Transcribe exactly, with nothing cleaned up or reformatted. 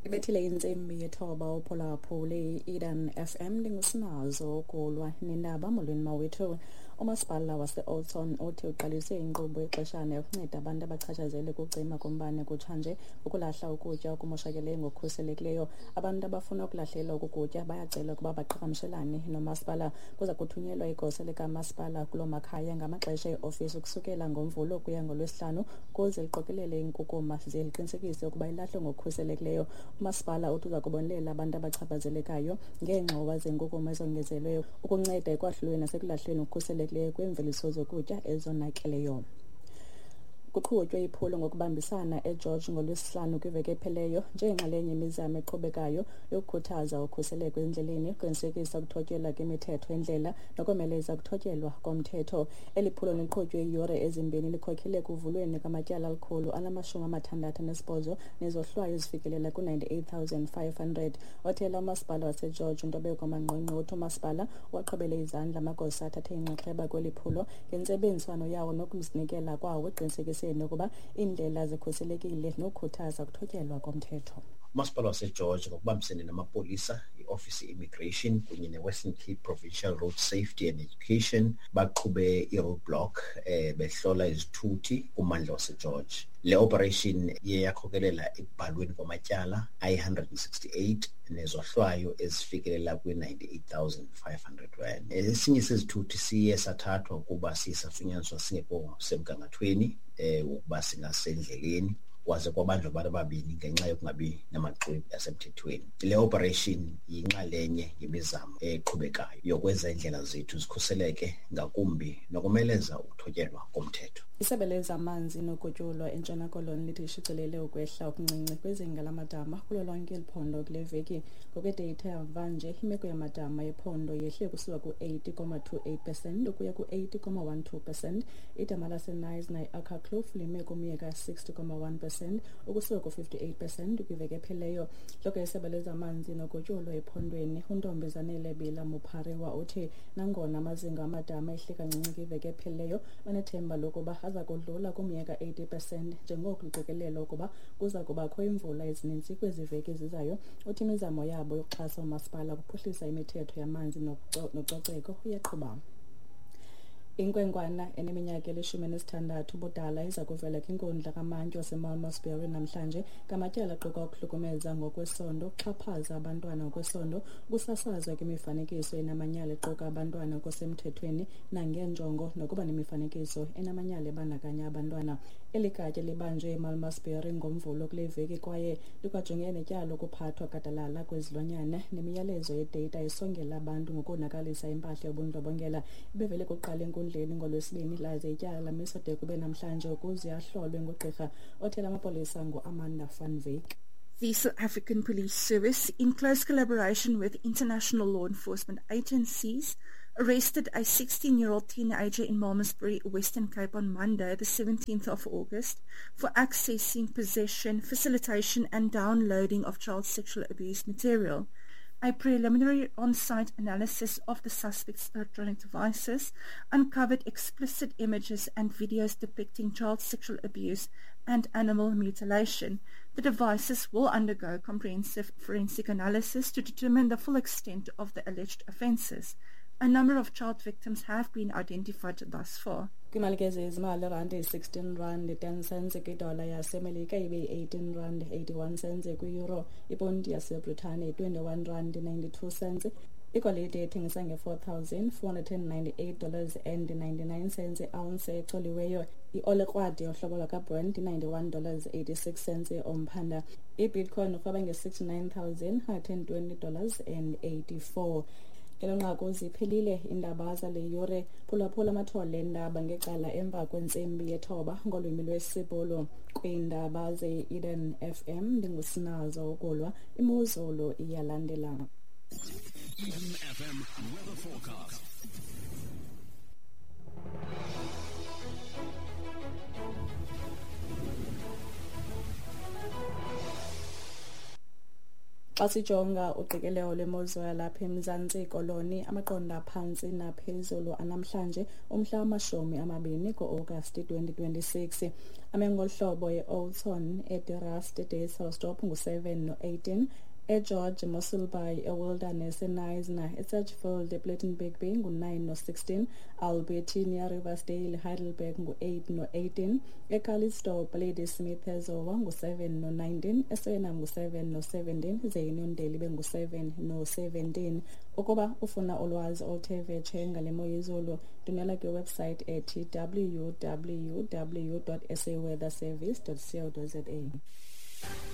Ibethile intsimbi yethoba uphulaphule i-Eden F M ndingusinazo ukulwa nendaba. Molweni mawethu. Umasipala wase-Oudtshoorn uthi uqalise inkqubo yexeshana yokunceda abantu abachatshazelwe kucima kombane kutshanje ukulahla ukutya okumoshakeleyo ngokukhuselekileyo. Abantu abafuna ukulahlelwa oku kutya bayacelwa ukuba baqhagamshelane nomasipala. Kuza kuthunyelwa igosa likamasipala kuloo makhaya ngamaxesha eofisi ukusukela ngoMvulo ukuya ngoLwesihlanu ukuze liqokelele iinkukuma ze liqinisekise ukuba ilahlwe ngokukhuselekileyo. Umasipala uthi uza kubonelela abantu abachaphazelekayo ngeengxowa zenkukuma ezongezelweyo ukunceda ekwahlulweni nasekulahlweni ngokukhuselekileyo kweemveliso zokutya ezonakeleyo. Kuqhutywe iphulo ngokubambisana eGeorge ngoLwesihlanu kwiveki epheleyo njengenxalenye yemizamo eqhubekayo yokukhuthaza ukhuseleko endleleni, ukuqinisekisa ukuthotyelwa kwemithetho yendlela nokomeleza ukuthotyelwa komthetho. Eli phulo liqhutywe iiyure ezimbini likhokhele ekuvulweni kwamatyala alikhulu anamashumi amathandathu anesibhozo nezohlwayo ezifikelela ku-ninety-eight thousand five hundred. Othela umasipala waseGeorge uNtobeko Manqonqo uthi umasipala waqhubele izandla amagosa athathe inxaxheba kweli phulo ngentsebenziswano yawo nokuzinikela kwawo eqinisekisa ukuba iindlela zikhuselekile nokukhuthaza ukuthotyelwa komthetho. Umasipala waseGeorge ngokubambisene namapolisa, i-Office Immigration kunye ne-Western Cape Provincial Road Safety and Education baqhube i-roadblock eh, behlola izithuthi kummandla waseGeorge. Le operation iye yakhokelela ekubhalweni kwamatyala ayi-one hundred and sixty-eight nezohlwayo ezifikelela kwi-ninety-eight thousand five hundred rand. Esinye sezithuthi siye sathathwa ukuba siye safunyaniswa singekho semgangathweni eh ukuba singasendleleni, kwaze kwabanjwa abantu ababini ngenxa yokungabi namaxwebhu asemthethweni. Le operation yinxalenye yemizamo eqhubekayo yokwenza iindlela zethu zikhuseleke ngakumbi nokomeleza ukuthotyelwa komthetho. Isebe lezamanzi nogutyulo eNtshona Koloni lithi lishicilele ukwehla okuncinci kwizinga lamadama kulo lonke eli phondo kule veki. Ngokwedeyitha yamvanje, imeko yamadama ephondo yehle kusuka ku-eighty comma two eight percent ukuya ku-eighty comma one two percent. Idama laseKnysna i-Akkerkloof lime kumyeka sixty comma one percent ukusuka ku-fifty-eight percent kwiveki ephelileyo. Intloko yesebe lezamanzi nogutyulo ephondweni uNtombizanele Bila Mupariwa uthi nangona amazinga amadama ehle kancinci kwiveki ephelileyo, banethemba lokuba aza kudlula kumyeka eighty percent njengoko kuqikelelwa ukuba kuza kubakho imvula ezininzi kwezi veki zizayo. Uthi imizamo yabo yokuxhasa umasipala ukuphuhlisa imithetho yamanzi nococeko iyaqhuba. Inkwenkwana eneminyaka elishumi nesithandathu ubudala iza kuvela kwinkundla kamantyi waseMalmesbury namhlanje ngamatyala aquka ukuhlukumeza ngokwesondo, ukuxhaphaza abantwana ngokwesondo, ukusasazwa kwemifanekiso enamanyala equka abantwana ngokusemthethweni nangeenjongo nokuba nemifanekiso enamanyala ebandakanya abantwana. Eli gatya libanjwe eMalmesbury ngoMvulo kule veki kwaye likwajongene netyala lokuphathwa gadalala kwezilwanyana nemiyalezo yedata esongela abantu ngokonakalisa impahla yobundlobongela. Ibevele kuqala enkundleni ngoLwesibini laze ityala lamiswa de kube namhlanje ukuze ahlolwe ngugqirha. Othela amapolisa nguAmanda van Wyk. The South African Police Service, in close collaboration with international law enforcement agencies, arrested a sixteen-year-old teenager in Malmesbury, Western Cape on Monday, the seventeenth of August, for accessing, possession, facilitation and downloading of child sexual abuse material. A preliminary on-site analysis of the suspect's electronic devices uncovered explicit images and videos depicting child sexual abuse and animal mutilation. The devices will undergo comprehensive forensic analysis to determine the full extent of the alleged offences. A number of child victims have been identified thus far. Kwimali ke zezimali, irandi yi-sixteen rand ten cents kwidola yaseMelika, ibe yi-eighteen rand eighty-one cents kwi-euro, iponti yaseBritane yi-twenty-one rand ninety-two cents. Igolide ethengisa nge-four thousand four hundred and ninety-eight dollars and ninety-nine cents i-ounce ecoliweyo. I-olekrwadi yohlobo lwakaBrent i-ninety-one dollars eighty-six cents omphanda. I-Bitcoin urhweba nge-sixty-nine thousand hundred and twenty dollars and eighty-four. Ngelo nqaku ziphelile iindaba zale yure. Phulaphula amathole eendaba ngecala emva kwentsimbi yethoba ngolwimi lwesiBhulu. Kwiindaba ze-Eden F M ndingusinazo ukulwa imozulu iyalandela. Eden F M weather forecast. Xa sijonga uqikelelo lwemozulu yalapha eMzantsi Koloni, amaqondo aphantsi naphezulu anamhlanje umhla wamashumi amabini ku-Agasti twenty twenty-six, ame ngolu hlobo: e-Oudtshoorn, eDe Rust, eDysselsdorp ngu-seven no-eighteen, eGeorge, Mossel Bay, eWilderness, eKnysna, eSedgefield, ePlettenberg Bay ngu-nine no-sixteen, Albertinia, Riversdale, Heidelberg ngu-eight no-eighteen, eCalitzdorp, Ladysmith, eZowa ngu-seven no-nineteen, eSwena ngu-seven no-seventeen, ze iUniondale ibe ngu-seven no-seventeen. Ukuba ufuna ulwazi oluthe vetshe ngale mo yezulu, ndwendwela kwiwebsite ethi W W W dot saweatherservice dot co dot za.